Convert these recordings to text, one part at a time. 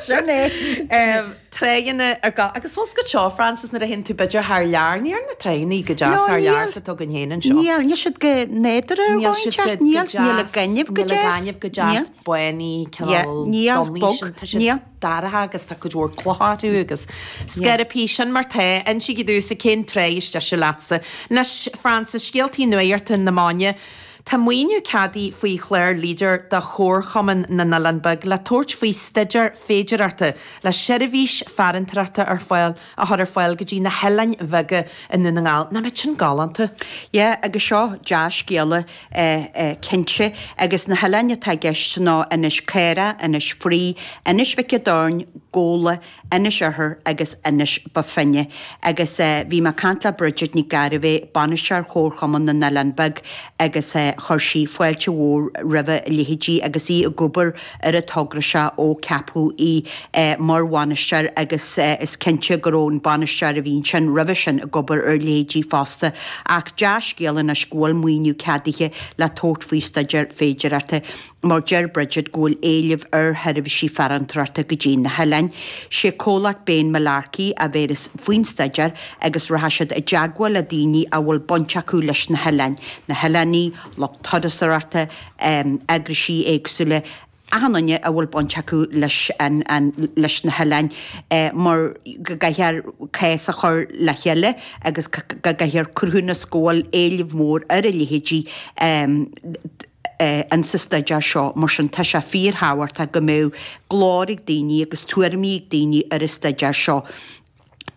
Sin é. Tráigheanna ar ga, agus fós go seo, Frances, nuair a théann tú b'fhéidir thar lear, níl na tráigheanna go deas No, thar lear níl. sa atá againn féin anseo. Níl, níl siad go nádúrtha ar Níl dhóigh siad go, inteacht, go níl, níl an deas, gaineamh go níl an deas. gaineamh go Níl. deas, bánaí, Yeah, cineál níl, donnaí bog, sin, tá siad níl. dorcha agus tá cuid mhór clocha orthu agus scairpí, sin mar tá, insígí domhsa cén tráigh is deise leatsa. Anois, Frances, scéaltaí nuachta na maidine. Tá maoiniú ceadaithe faoi chlár Leader do Chomharchumann na nOileán Beag le tabhairt faoi staidéar féidearthachta le seirbhís farantóireachta ar fáil a chur ar fáil go dtí na hoileáin bheaga i nDún na nGall. Nach mbeadh sin galánta? Yeah, agus seo dea-scéala cinnte. Agus na hoileáin atá i gceist ná Inis Caorach, Inis Fraoigh, Inis Mhic an Doirn, Gabhla, Inis Oirthir agus Inis Bó Finne. Agus bhí mé ag caint le Bridget Nic Gairbheith, Bainisteoir Chomharchumann na nOileán Beag agus chuir sí fáilte mhór roimh a leithéidí agus í ag obair ar an togra seo ó ceapadh í mar bhainisteoir agus is cinnte go raibh an bainisteoir a bhí ansin roimhe sin ag obair ar a leithéidí fosta. Ach dea-scéal anois go bhfuil maoiniú ceadaithe le tabhairt faoi staidéar féidearthachta. mar deir Bridget go bhfuil éileamh ar sheirbhísí farantóireachta go dtí na hoileáin. Sé comhlacht Bain Mullarkey a bhéaras faoin staidéar agus rachaidh siad i dteagmháil le daoine a bhfuil baint acu leis na hoileáin, na hoileánaigh, lucht turasóireachta, eagraisí éagsúla, achan duine a bhfuil baint acu leis an leis na hoileáin mar go gcaithfear cás a chur le chéile agus go gcaithfear cruthúnas go bhfuil éileamh mór ar a leithéidí. in sa staidéar seo. Mar sin, tá sé fíorthábhachtach go mbeadh glór ag daoine agus tuairimí ag daoine ar an staidéar seo.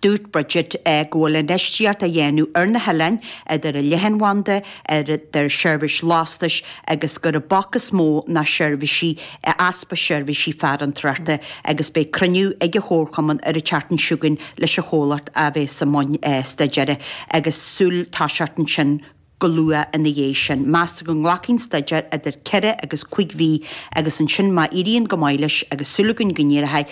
Dúirt Bridget go bhfuil infheistíocht á dhéanamh ar na hoileáin, idir an leathanbhanda, idir seirbhís lastais agus gur an bac is mó ná seirbhísí, easpa seirbhísí farantóireachta agus beidh cruinniú ag an Chomharchumann ar an tseachtain seo chugainn leis an chomhlacht a bheas i mbun staidéir agus súil toiseacht ansin go luath ina dhiaidh sin. Meastar go nglacfaidh an staidéar idir ceithre agus cuig mhí agus ansin má éiríonn go maith leis, agus súil againn go n-éireoidh,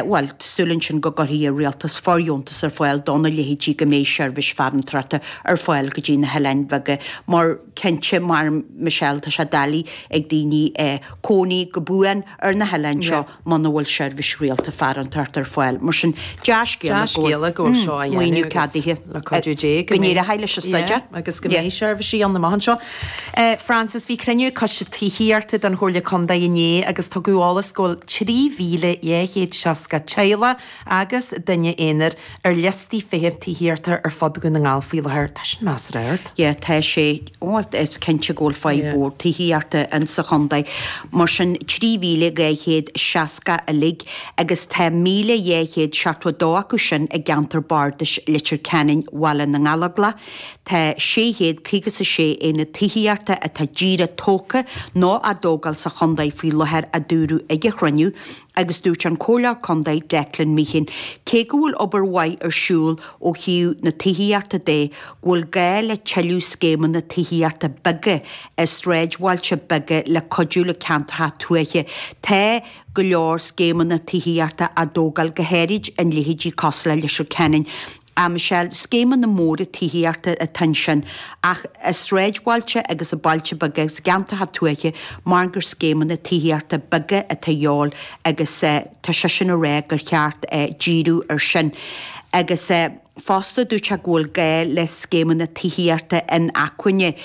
bhuel, tá súil ansin go gcuirfidh an rialtas fóirdheontas ar fáil dona leithéidí go mbeidh seirbhís farantóireachta ar fáil go dtí na hoileáin bheaga mar cinnte, mar Michelle, tá sé doiligh ag daoine cónaí go buan ar na hoileáin seo. muna bhfuil seirbhís rialta farantóireachta ar fáil. Mar sin, dea-scéala go bhfuil seo á dhéanamh maoiniú ceadaithe le cuidiú Dé go n-éireoidh leis an staidéar. Agus go mbeidh seirbhísí ann amach anseo. Frances, bhí cruinniú coiste tithíochta den Chomhairle Contae inné agus tugadh eolas go bhfuil 3,260 teaghlach agus duine aonair ar liostaí feithimh tithíochta ar fud Dhún na nGall faoi láthair. Tá sin measartha ard. Yeah, tá sé. Ó, is cinnte go bhfuil fadhb mhór tithíochta in sa chontae. Mar sin, 3,260 uilig agus tá 1,272 acu sin i gceantar bardais Leitir Ceanainn, Bhaile na nGallóglach. Tá 656 aonad tithíochta atá díreach tógtha nó á dtógáil sa chontae faoi láthair, a dúradh ag an chruinniú. Agus dúirt an Comhairleoir Contae Declan Meehan, cé go bhfuil obair mhaith ar siúl ó thaobh na tithíochta de, go bhfuil gá le tuilleadh scéimeanna tithíochta beaga i sráidbhailte beaga le cuidiú le ceantracha tuaithe. Tá go leor scéimeanna tithíochta á dtógáil, go háirid in leithéidí cosúil le Leitir Ceanainn. A Michelle, scéimeanna móra tithíochta atá ansin, ach i sráidbhailte agus i bailte beaga agus i gceantracha tuaithe, mar gur scéimeanna tithíochta beaga atá a dhíobháil agus tá seisean ag rá gur cheart díriú ar sin. Agus fosta dúirt sé go bhfuil gá le scéimeanna tithíochta inacmhainne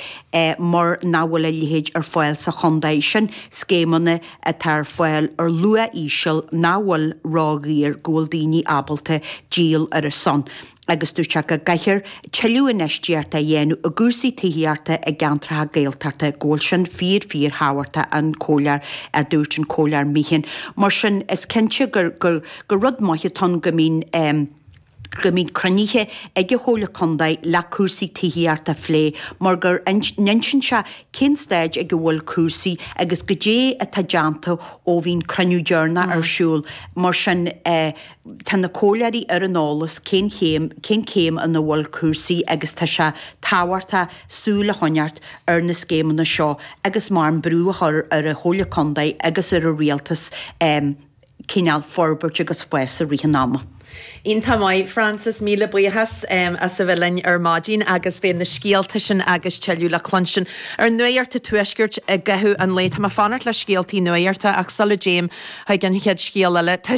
mar nach bhfuil a leithéid ar fáil sa chontae. Sin scéimeanna atá ar fáil ar luach íseal nach bhfuil ródhaor go bhfuil daoine ábalta díol ar a son agus dúirt sé go gcaithfear tuilleadh infheistíochta a dhéanamh i gcúrsaí tithíochta i gceantracha Gaeltachta, go bhfuil sin fíor fíor thábhachtach an comhairleoir a dúirt an comhairleoir Meehan. Mar sin is cinnte gur gur gur rud maith atá ann go mbíonn go mbíonn cruinnithe ag an Chomhairle Contae le cúrsaí tithíochta a phlé mar go n-insíonn sé cén staid ag a bhfuil cúrsaí agus goidé atá déanta ó bhí an cruinniú deireanach ar siúl. Mar sin tá na comhairleoirí ar an eolas cén chéim, cén céim ina bhfuil cúrsaí agus tá sé tábhachtach súil a choinneáilt ar na scéimeanna seo agus mar an brú a chur ar an Chomhairle Contae agus ar an Rialtas cineál forbairt agus fás i rith an ama. Iontach maith, Frances, míle buíochas as a bheith linn ar maidin agus beidh na scéalta sin agus tuilleadh le cluinstin ar Nuacht an Tuaiscirt i gcaitheamh an lae. Tá mé ag fanacht le scéaltaí nuachta ach sula dtéim chuig an chéad scéal eile, tá.